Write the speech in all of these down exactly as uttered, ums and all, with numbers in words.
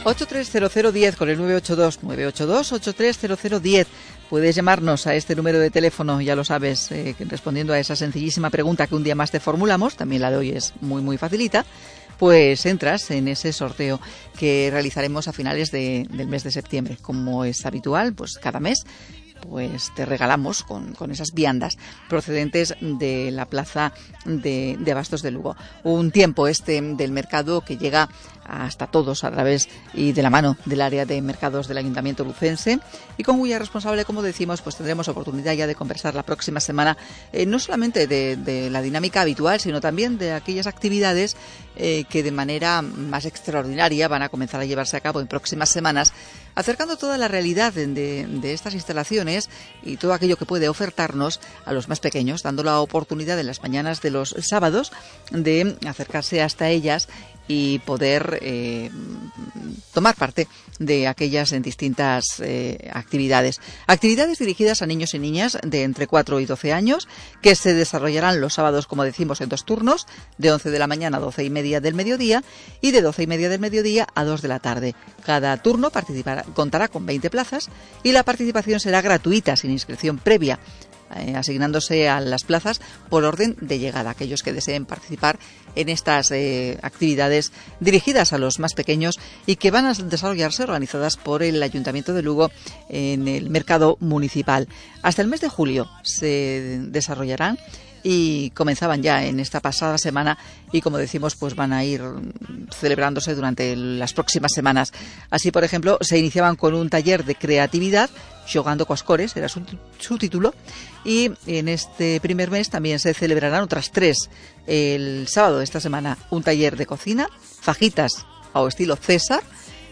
ocho tres cero cero diez con el nueve ocho dos nueve ocho dos ocho tres cero cero diez. Puedes llamarnos a este número de teléfono, ya lo sabes, eh, respondiendo a esa sencillísima pregunta que un día más te formulamos. También la de hoy es muy muy facilita. Pues entras en ese sorteo que realizaremos a finales de, del mes de septiembre. Como es habitual, pues cada mes pues te regalamos con, con esas viandas procedentes de la plaza de, de Abastos de Lugo. Un tiempo este del mercado que llega hasta todos a través y de la mano del área de mercados del Ayuntamiento lucense, y con cuya responsable, como decimos, pues tendremos oportunidad ya de conversar la próxima semana, eh, no solamente de, de la dinámica habitual, sino también de aquellas actividades eh, que de manera más extraordinaria van a comenzar a llevarse a cabo en próximas semanas, acercando toda la realidad de, de, de estas instalaciones y todo aquello que puede ofertarnos a los más pequeños, dando la oportunidad en las mañanas de los sábados de acercarse hasta ellas y poder eh, tomar parte de aquellas en distintas eh, actividades. Actividades dirigidas a niños y niñas de entre cuatro y doce años, que se desarrollarán los sábados, como decimos, en dos turnos, de once de la mañana a doce y media del mediodía y de doce y media del mediodía a dos de la tarde. Cada turno participará, contará con veinte plazas y la participación será gratuita, sin inscripción previa, Eh, asignándose a las plazas por orden de llegada, aquellos que deseen participar en estas eh, actividades dirigidas a los más pequeños y que van a desarrollarse organizadas por el Ayuntamiento de Lugo en el mercado municipal. Hasta el mes de julio se desarrollarán y comenzaban ya en esta pasada semana y, como decimos, pues van a ir celebrándose durante las próximas semanas. Así, por ejemplo, se iniciaban con un taller de creatividad, Xogando coas cores, era su, su título, y en este primer mes también se celebrarán otras tres. El sábado de esta semana un taller de cocina, fajitas ao estilo César,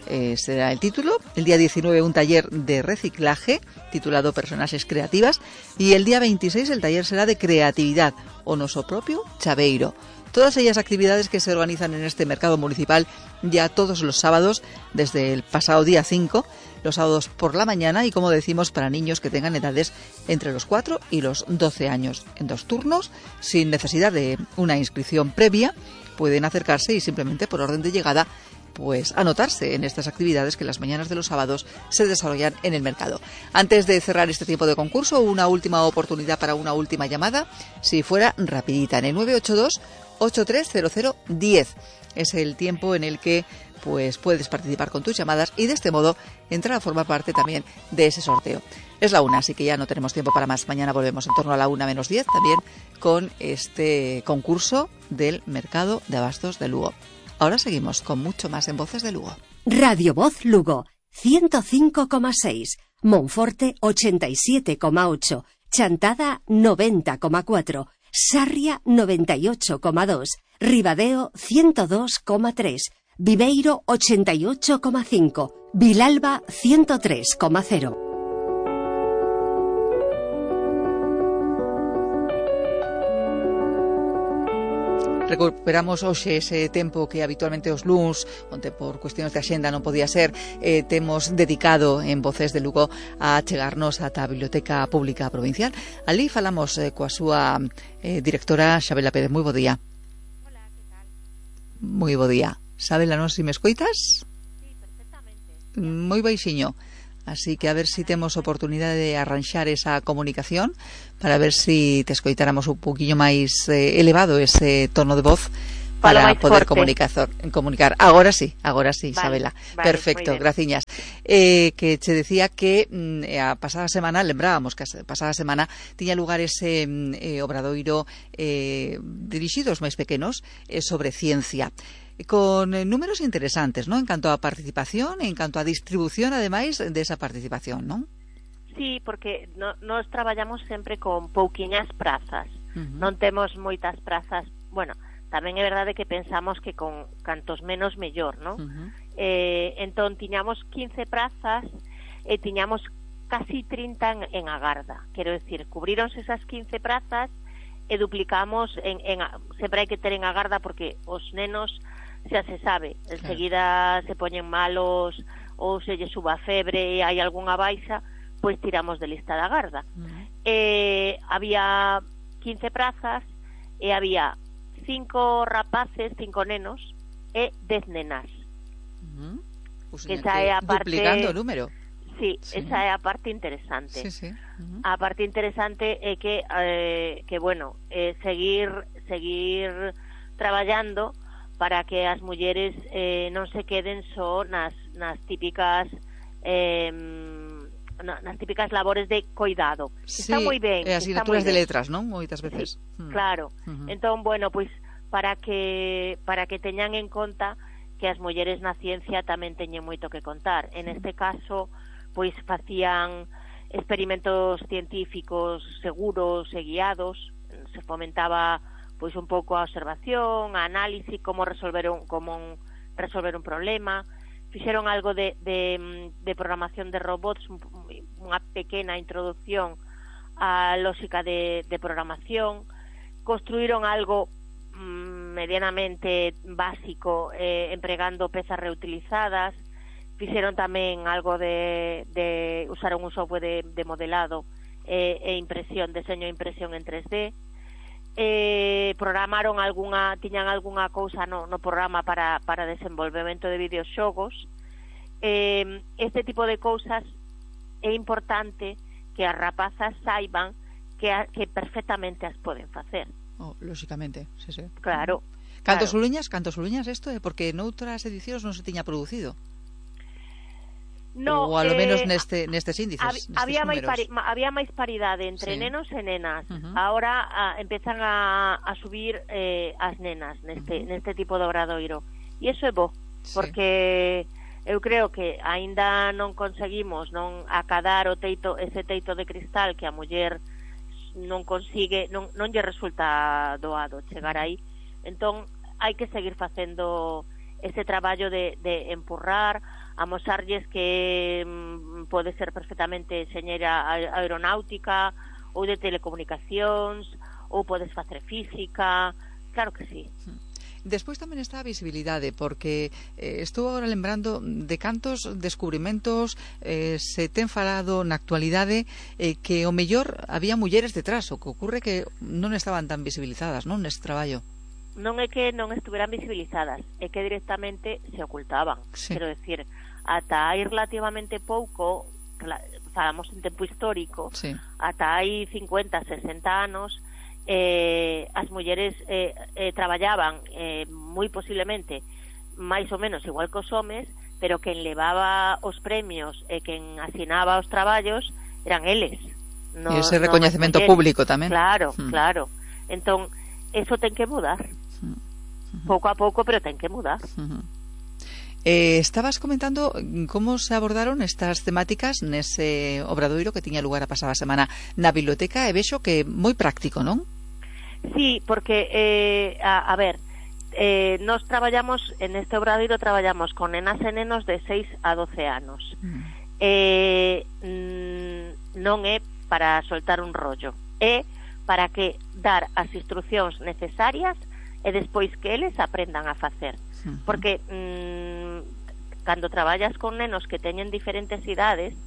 Eh, será el título. El día diecinueve un taller de reciclaje titulado Personaxes Creativas, y el día veintiséis el taller será de creatividad, o noso propio chaveiro. Todas ellas actividades que se organizan en este mercado municipal ya todos los sábados desde el pasado día cinco, los sábados por la mañana, y como decimos, para niños que tengan edades entre los cuatro y los doce años, en dos turnos, sin necesidad de una inscripción previa. Pueden acercarse y simplemente por orden de llegada pues anotarse en estas actividades que las mañanas de los sábados se desarrollan en el mercado. Antes de cerrar este tiempo de concurso, una última oportunidad para una última llamada, si fuera rapidita, en el nueve ocho dos ocho tres cero cero diez. Es el tiempo en el que pues puedes participar con tus llamadas y de este modo entrar a formar parte también de ese sorteo. Es la una, así que ya no tenemos tiempo para más. Mañana volvemos en torno a la una menos diez también con este concurso del mercado de Abastos de Lugo. Ahora seguimos con mucho más en Voces de Lugo. Radio Voz Lugo, ciento cinco coma seis, Monforte ochenta y siete coma ocho, Chantada noventa coma cuatro, Sarria noventa y ocho coma dos, Ribadeo ciento dos coma tres, Viveiro ochenta y ocho coma cinco, Vilalba ciento tres coma cero. Recuperamos hoxe ese tempo que habitualmente os luns, onde por cuestións de axenda non podía ser, eh, temos dedicado en Voces de Lugo a chegarnos ata a Biblioteca Pública Provincial. Ali falamos eh, coa súa eh, directora Xabela Pérez. Moi bo día. Hola, que tal? Moi bo día. Xabela, non se me escoitas? Sí, perfectamente. Moi baixiño. Así que a ver si temos oportunidade de arranxar esa comunicación para ver si te escoitáramos un poquinho máis eh, elevado ese tono de voz para poder comunicar, comunicar. Agora sí, agora sí, vale, Isabela. Vale, perfecto, graciñas. Eh, que che decía que mm, a pasada semana, lembrábamos que a pasada semana tiña lugar ese eh, obradoiro eh, dirixido aos máis pequenos eh, sobre ciencia, con eh, números interesantes, ¿no? En canto a participación, en canto a distribución, ademais de esa participación, ¿non? Sí, porque no, nos traballamos sempre con pouquiñas prazas. Uh-huh. Non temos moitas prazas. Bueno, tamén é verdade que pensamos que con cantos menos mellor, ¿no? Uh-huh. Eh, entón, tiñamos quince prazas e tiñamos casi trinta en, en agarda. Quero decir, cubrironse esas quince prazas e duplicamos en, en, sempre hai que ter en agarda porque os nenos xa se sabe, enseguida claro, se poñen malos ou se lle suba a febre e hai algunha baixa, pois tiramos de lista da garda. Uh-huh. Eh, había quince prazas e había cinco rapaces, cinco nenos e dez nenas. Uh-huh. Pues, que esa é a parte duplicando o número. Sí, sí, esa é a parte interesante. Sí, sí. Uh-huh. A parte interesante é que eh, que bueno, eh, seguir seguir traballando para que as mulleres eh, non se queden só nas nas típicas eh, nas típicas labores de coidado. Sí, está moi ben, e asignaturas de letras, non? Moitas veces. Sí, mm. Claro. Uh-huh. Entón, bueno, pois para que para que teñan en conta que as mulleres na ciencia tamén teñen moito que contar. En este caso, pois facían experimentos científicos seguros e guiados, se fomentaba pois un pouco a observación, a análise, como resolver un, como un, resolver un problema, fixeron algo de, de, de programación de robots, unha pequena introducción á lógica de, de programación, construíron algo mmm, medianamente básico eh, empregando pezas reutilizadas, fixeron tamén algo de, de usaron un software de, de modelado e, e impresión, deseño e impresión en tres D, eh, programaron algunha, tiñan algunha cousa no, no programa para, para desenvolvemento de videoxogos. Eh, este tipo de cousas é importante que as rapazas saiban que, a, que perfectamente as poden facer. Oh, lógicamente, sí, sí. Claro. Cantos claro. Uliñas, cantos Uliñas isto é porque noutras edicións non se tiña producido. No, ou alo eh, menos neste nestes índices, hab, nestes había máis pari, había máis paridade entre sí. nenos e nenas. Uh-huh. Ahora a, empezan a, a subir eh, as nenas neste uh-huh. neste tipo de obradoiro. E iso é bo, sí. porque eu creo que aínda non conseguimos non acadar o teito, ese teito de cristal que a muller non consigue, non non lle resulta doado chegar aí. Entón hai que seguir facendo ese traballo de, de empurrar, amosarlles que mm, pode ser perfectamente enxeñeira aeronáutica ou de telecomunicacións, ou podes facer física, claro que sí. Despois tamén está a visibilidade, porque eh, estou agora lembrando de cantos descubrimentos eh, se ten falado na actualidade eh, que o mellor había mulleres detrás, o que ocurre que non estaban tan visibilizadas, non, neste traballo. Non é que non estuveran visibilizadas, é que directamente se ocultaban. Sí. Quero decir, ata hai relativamente pouco, falamos en tempo histórico, sí. ata hai cincuenta, sesenta anos, eh, as mulleres eh, eh, traballaban eh, moi posiblemente máis ou menos igual que os homes, pero quen levaba os premios e quen asinaba os traballos eran eles. No, e ese recoñecemento no público tamén. Claro, hmm. claro. Entón, eso ten que mudar. Uh-huh. Pouco a pouco, pero ten que mudar. Uh-huh. Eh, estabas comentando como se abordaron estas temáticas nese obradoiro que tiña lugar a pasada semana na biblioteca, e vexo que moi práctico, non? Sí, porque eh, a, a ver, eh, nos traballamos en este obradoiro, traballamos con nenas e nenos de seis a doce anos. Mm. Eh, mm, non é para soltar un rollo, é para que dar as instruccións necesarias e despois que eles aprendan a facer. Uh-huh. Porque mmm, cando traballas con nenos que teñen diferentes idades,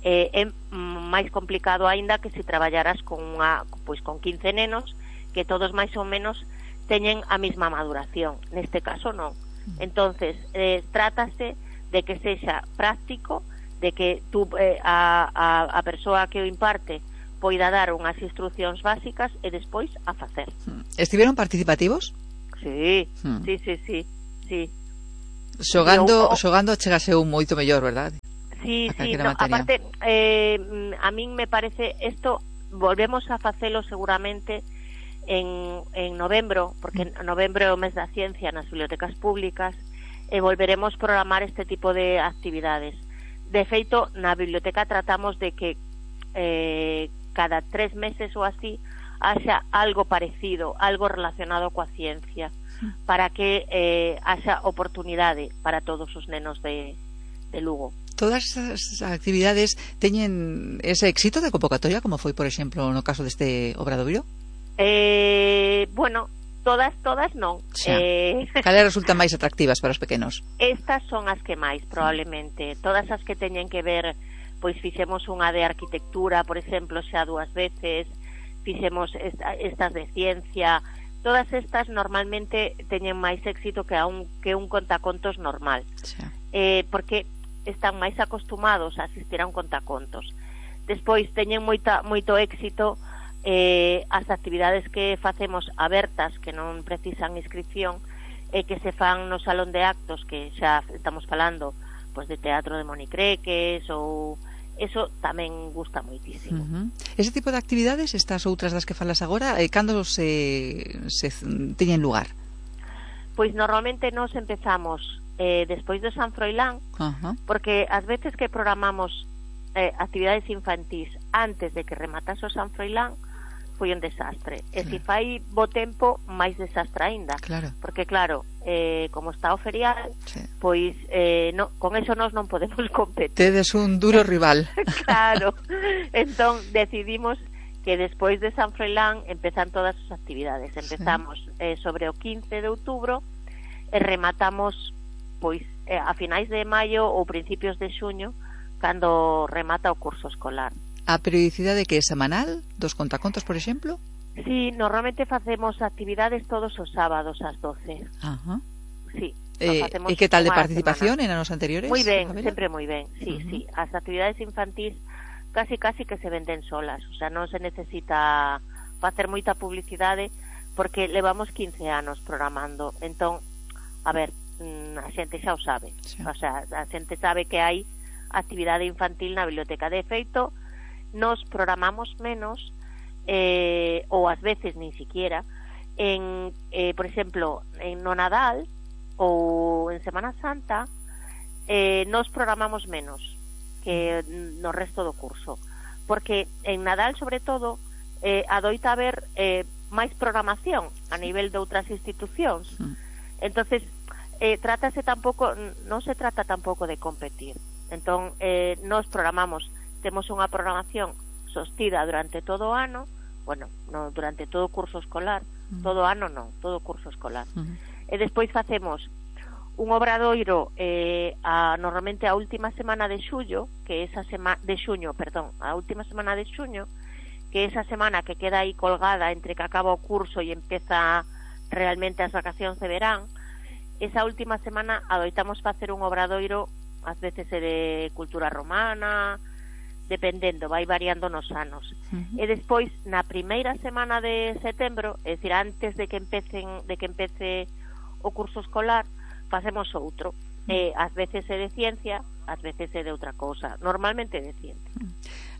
eh, é máis complicado aínda que se traballaras con unha, pois con quince nenos que todos máis ou menos teñen a mesma maduración. Neste caso non. Uh-huh. Entonces, eh, trátase de que sexa práctico, de que tú, eh, a, a, a persoa que o imparte poida dar unhas instruccións básicas e despois a facer. Estiveron participativos? Sí, hmm. sí, sí, sí, sí. Xogando, eu, xogando chegase un moito mellor, verdade? Sí, sí, no, aparte eh, a min me parece isto, volvemos a facelo seguramente en, en novembro, porque en novembro é o mes da ciencia nas bibliotecas públicas, e volveremos programar este tipo de actividades. De feito, na biblioteca tratamos de que eh, cada tres meses ou así haxa algo parecido, algo relacionado coa ciencia, para que eh, haxa oportunidade para todos os nenos de, de Lugo. Todas as actividades teñen ese éxito de convocatoria, como foi, por exemplo, no caso deste obradoiro? Eh, bueno, todas, todas non. Eh... Cales resultan máis atractivas para os pequenos? Estas son as que máis, probablemente. Todas as que teñen que ver, pois fixemos unha de arquitectura, por exemplo, xa dúas veces, fixemos esta, estas de ciencia, todas estas normalmente teñen máis éxito que, a un, que un contacontos normal, sí. eh, porque están máis acostumados a asistir a un contacontos. Despois teñen moita, moito éxito eh, as actividades que facemos abertas, que non precisan inscripción, e eh, que se fan no salón de actos, que xa estamos falando pues, de teatro de monicreques, ou eso tamén gusta moitísimo. Uh-huh. Ese tipo de actividades, estas outras das que falas agora, eh, cando se, se teñen lugar? Pois normalmente nos empezamos eh, despois do San Froilán, uh-huh. porque ás veces que programamos eh, actividades infantís antes de que rematase o San Froilán, foi un desastre. Claro. E se fai bo tempo, máis desastre aínda. Claro. Porque claro, eh, como está o ferial, sí. pois eh, no, con eso nós non podemos competir. Tedes un duro rival. Claro. Entón decidimos que despois de San Froilán empezan todas as actividades. Empezamos sí. eh, sobre o quince de outubro e rematamos pois eh, a finais de maio ou principios de xuño, cando remata o curso escolar. A periodicidade que é semanal dos contacontos, por exemplo? Sí, normalmente facemos actividades todos os sábados ás doce. Ajá. Sí. Eh, e que tal de participación en anos anteriores? Moi ben, sempre moi ben. Sí, uh-huh. sí. As actividades infantís casi casi que se venden solas, o sea, non se necesita facer moita publicidade porque levamos quince anos programando. Entón, a ver, a xente xa o sabe. Sí. O sea, a xente sabe que hai actividade infantil na biblioteca. De feito, nos programamos menos eh, ou ás veces nin siquiera en, eh, por exemplo, en no Nadal ou en Semana Santa eh, nos programamos menos que no resto do curso, porque en Nadal sobre todo eh, adoita haber eh, máis programación a nivel de outras institucións. Entonces eh, trátase tampouco, non se trata tampouco de competir. Entón eh, nos programamos, temos unha programación sostida durante todo o ano, bueno, no, durante todo o curso escolar, uh-huh. todo o ano non, todo o curso escolar. Uh-huh. E despois facemos un obradoiro eh, a, normalmente a última semana de xullo, que esa semana de xuño, perdón, a última semana de xuño, que esa semana que queda aí colgada entre que acaba o curso e empeza realmente as vacacións de verán, esa última semana adoitamos facer un obradoiro, ás veces é de cultura romana, dependendo, vai variando nos anos. Uh-huh. E despois, na primeira semana de setembro, é dicir, antes de que empecen, de que empece o curso escolar, facemos outro. Uh-huh. Eh, ás veces é de ciencia, ás veces é de outra cousa. Normalmente é de ciencia. Uh-huh.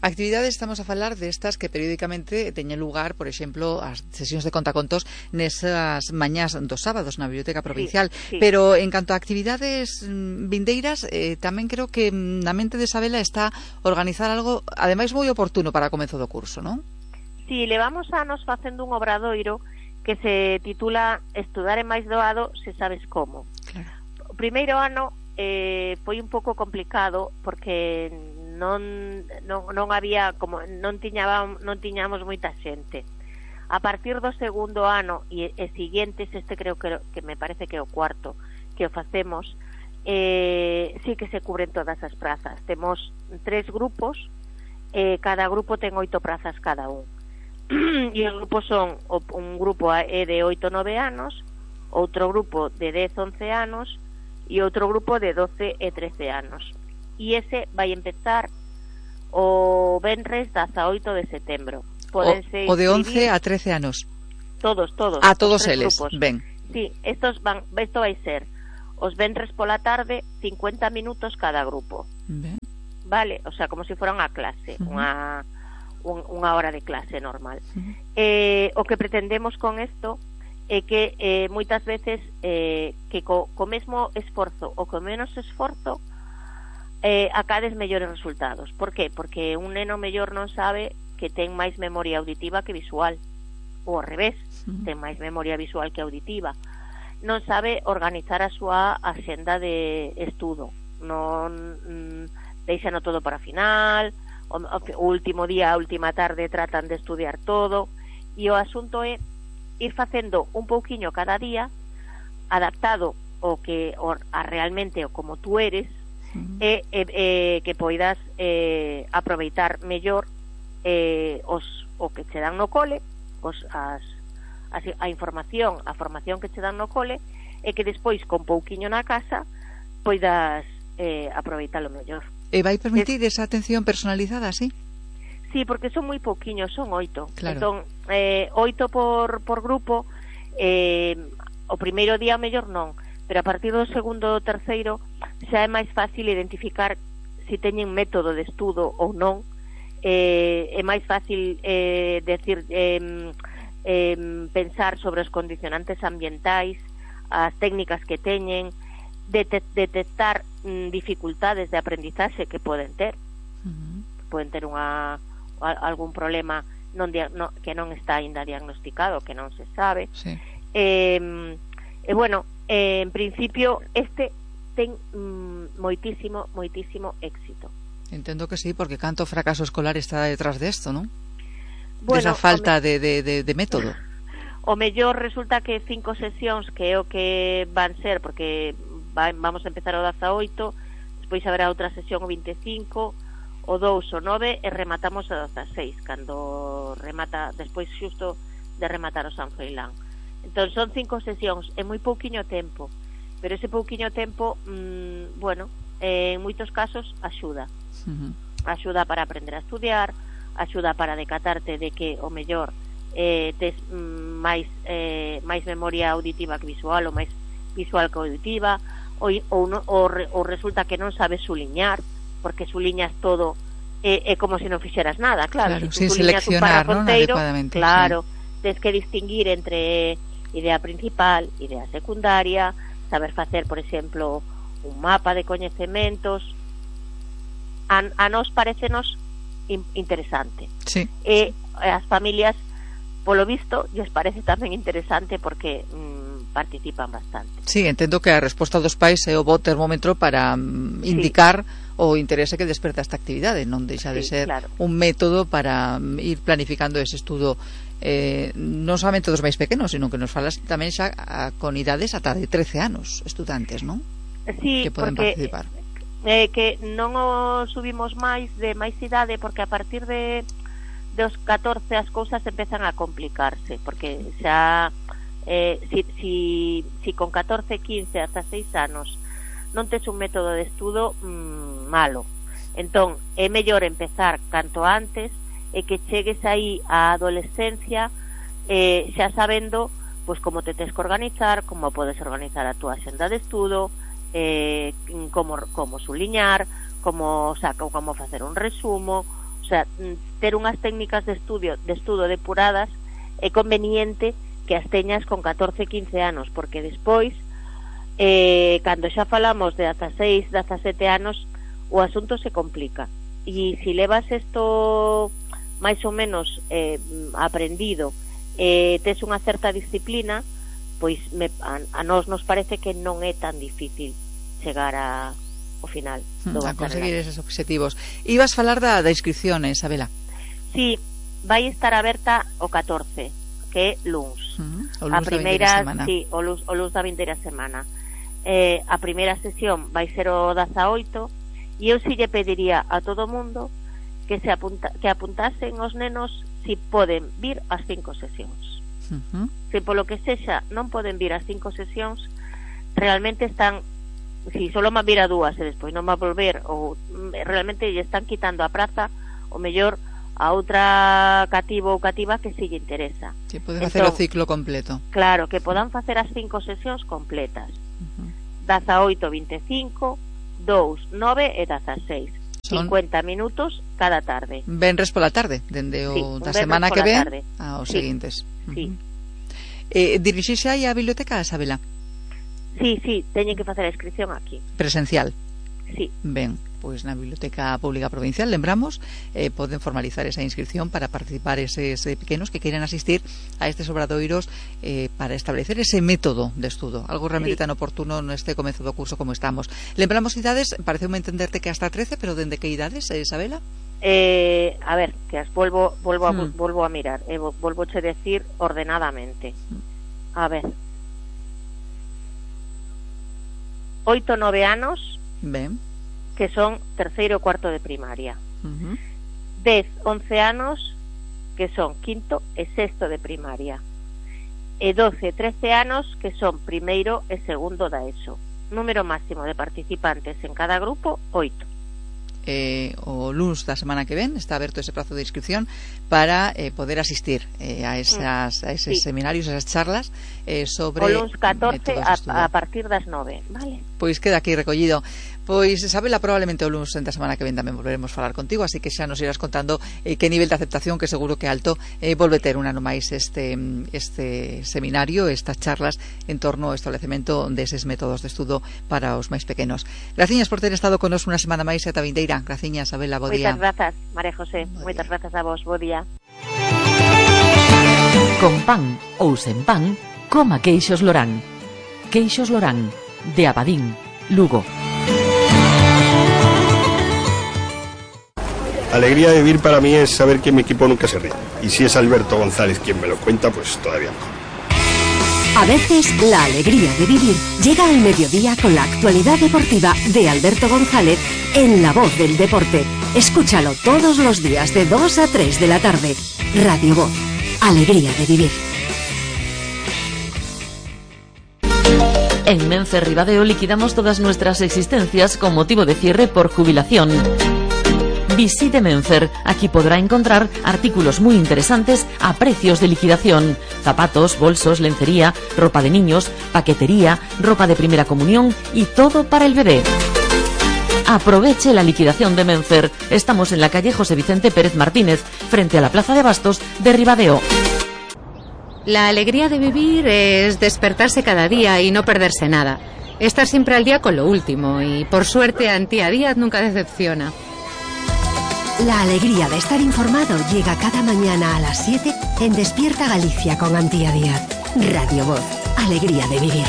Actividades, estamos a falar destas que periódicamente teñen lugar, por exemplo, as sesións de contacontos nesas mañás dos sábados na Biblioteca Provincial, sí, sí. Pero en canto a actividades vindeiras, eh, tamén creo que na mente de Isabela está organizar algo, ademais moi oportuno para o comezo do curso, non? Si, sí, levamos anos facendo un obradoiro que se titula Estudar é máis doado se sabes como. Claro. O primeiro ano eh, foi un pouco complicado porque non, non, non había como non tiñaba, non tiñamos moita xente. A partir do segundo ano e, e siguientes, este creo que, que me parece que é o cuarto que o facemos, eh, sí que se cubren todas as prazas. Temos tres grupos, eh, cada grupo ten oito prazas cada un. E os grupos son, un grupo é de oito a nove anos, outro grupo de dez a once anos e outro grupo de doce e trece anos. E ese vai empezar o venres dezaoito de setembro. Podense o, o de once a trece anos. Todos, todos. A todos eles, grupos. Ben. Sí, estos van, esto vai ser os venres pola tarde, cincuenta minutos cada grupo. Ben. Vale, o sea, como se si fora unha clase, uh-huh. unha un, unha hora de clase normal. Uh-huh. Eh, o que pretendemos con isto é que eh, moitas veces eh, que co, co mesmo esforzo ou co menos esforzo eh, acades mellores resultados. Por qué? Porque un neno mellor non sabe que ten máis memoria auditiva que visual, ou ao revés, uh-huh. ten máis memoria visual que auditiva. Non sabe organizar a súa axenda de estudo, non mm, deixano todo para final, o, o último día, a última tarde tratan de estudiar todo, e o asunto é ir facendo un pouquiño cada día, adaptado o que o, a realmente o como tú eres, uh-huh. e, e, e que poidas eh, aproveitar mellor eh, os, o que che dan no cole, os, as, a, a información, a formación que che dan no cole, e que despois, con pouquiño na casa, poidas eh, aproveitalo mellor. E vai permitir es... esa atención personalizada, sí? Sí, porque son moi pouquiños, son oito. Claro. Entón, eh, oito por, por grupo, eh, o primeiro día mellor non, pero a partir do segundo ou terceiro xa é máis fácil identificar se teñen método de estudo ou non. Eh, é máis fácil eh, decir eh, eh, pensar sobre os condicionantes ambientais, as técnicas que teñen, det detectar mm, dificultades de aprendizaxe que poden ter. Uh-huh. Poden ter unha algún problema non, no, que non está ainda diagnosticado, que non se sabe. Sí. Eh, e bueno, eh, en principio este ten mm, moitísimo, moitísimo éxito. Entendo que sí, porque canto fracaso escolar está detrás de esto, ¿no? Bueno, de esa falta de, de, de, de método. O mellor resulta que cinco sesións, que é o que van ser, porque va, vamos a empezar o dezaoito, despois haberá outra sesión o vinte e cinco, o dous o nove, e rematamos o dezaseis, cando remata, despois xusto de rematar o San Froilán. Entón son cinco sesións, é moi pouquiño tempo, pero ese pouquiño tempo, mmm, bueno, eh, en moitos casos axuda. Uh-huh. Axuda para aprender a estudiar, axuda para decatarte de que o mellor eh, tes mm, máis eh, máis memoria auditiva que visual, ou máis visual que auditiva, ou, ou, no, ou, re, ou resulta que non sabes suliñar, porque suliñas todo é, é como se non fixeras nada, claro, claro se sin suliñas un seleccionar, párrafo ¿no? inteiro, claro, sí. Tens que distinguir entre idea principal, idea secundaria, saber facer, por exemplo, un mapa de coñecementos. A, a nos parecenos in, interesante. Sí. E as familias, polo visto, lles parece tamén interesante porque mm, participan bastante. Sí, entendo que a resposta dos pais é o bo termómetro para mm, indicar sí. o interese que desperta esta actividade, non deixa de sí, ser claro. un método para mm, ir planificando ese estudo eh, non somente dos máis pequenos, sino que nos falas tamén xa a, con idades ata de trece anos, estudantes, non? Sí, que poden porque participar. Eh, que non o subimos máis de máis idade, porque a partir de dos catorce as cousas empezan a complicarse, porque xa eh, si, si, si con catorce, quince, hasta seis anos non tes un método de estudo mmm, malo, entón é mellor empezar canto antes e que chegues aí á adolescencia eh, xa sabendo pois como te tes que organizar, como podes organizar a túa xenda de estudo, eh, como, como suliñar, como, o sea, como facer un resumo, o sea, ter unhas técnicas de estudio de estudo depuradas é conveniente que as teñas con catorce, quince anos, porque despois eh, cando xa falamos de dezaseis, dezasete anos o asunto se complica, e se si levas isto máis ou menos eh, aprendido, eh, tes unha certa disciplina, pois me, a, a nós nos parece que non é tan difícil chegar a, ao final do a conseguir esos objetivos. Ibas falar da, da inscripción, Isabela? Sí, vai estar aberta o catorce, que é luns. Uh-huh. O luns a primeira semana. Sí, o luns, o luns da vindeira semana. Eh, a primeira sesión vai ser o dezaoito, e eu si lle pediría a todo mundo que se apunta, que apuntasen os nenos si poden vir ás cinco sesións. Uh-huh. Se polo que sexa non poden vir ás cinco sesións, realmente están, si solo van vir a dúas e despois non va a volver, ou realmente lle están quitando a praza o mellor a outra cativo ou cativa que si lle interesa. Que poden facer o ciclo completo. Claro, que podan facer as cinco sesións completas. Uh-huh. dezaoito, vinte e cinco, dous, nove e dezaseis. Son cincuenta minutos cada tarde. Venres pola tarde, dende o sí, da semana que ven aos sí. seguintes. Sí. Uh-huh. Eh, dirixirse aí á biblioteca, Isabela? Sí, sí, teñen que facer a inscripción aquí. Presencial? Sí. Ben, pois na Biblioteca Pública Provincial, lembramos, eh, poden formalizar esa inscripción para participar eses eh, pequenos que queiran asistir a estes obradoiros eh, para establecer ese método de estudo, algo realmente sí. tan oportuno neste comezo do curso como estamos. Lembramos idades, pareceume entenderte que hasta trece, pero dende que idades, eh, Isabela? Eh, a ver, que as volvo volvo a, hmm. volvo a mirar, eh, volvo a decir ordenadamente. A ver. oito, nove anos. Ben. Que son terceiro e cuarto de primaria. Uh-huh. dez, once anos, que son quinto e sexto de primaria. e doce, trece anos que son primeiro e segundo da ESO. Número máximo de participantes en cada grupo, oito. Eh, o luns da semana que ven está aberto ese prazo de inscripción para eh, poder asistir eh, a, esas, a esos sí. seminarios, a esas charlas eh, sobre o luns catorce a, a partir das nove, vale? Pois queda aquí recollido. Pois, Isabela, probablemente o luns da semana que ven tamén volveremos a falar contigo, así que xa nos irás contando eh, que nivel de aceptación, que seguro que alto, eh, volve ter un ano máis este, este seminario, estas charlas en torno ao establecemento deses métodos de estudo para os máis pequenos. Graciñas por ter estado con nos unha semana máis e ata vindeira. Graciñas, Isabela, bo día. Moitas grazas, María José, moitas grazas a vos, bo día. Con pan ou sen pan, coma queixos Lorán. Queixos Lorán, de Abadín, Lugo. Alegría de vivir para mí es saber que mi equipo nunca se rinde. Y si es Alberto González quien me lo cuenta, pues todavía mejor. A veces, la alegría de vivir llega al mediodía con la actualidad deportiva de Alberto González en La Voz del Deporte. Escúchalo todos los días de dos a tres de la tarde. Radio Voz. Alegría de vivir. En Menfer Ribadeo liquidamos todas nuestras existencias con motivo de cierre por jubilación. Visite Menfer, aquí podrá encontrar artículos muy interesantes a precios de liquidación: zapatos, bolsos, lencería, ropa de niños, paquetería, ropa de primera comunión y todo para el bebé. Aproveche la liquidación de Menfer. Estamos en la calle José Vicente Pérez Martínez, frente a la Plaza de Bastos de Ribadeo. La alegría de vivir es despertarse cada día y no perderse nada. Estar siempre al día con lo último y, por suerte, Antía Díaz nunca decepciona. La alegría de estar informado llega cada mañana a las siete en Despierta Galicia con Antía Díaz. Radio Voz. Alegría de vivir.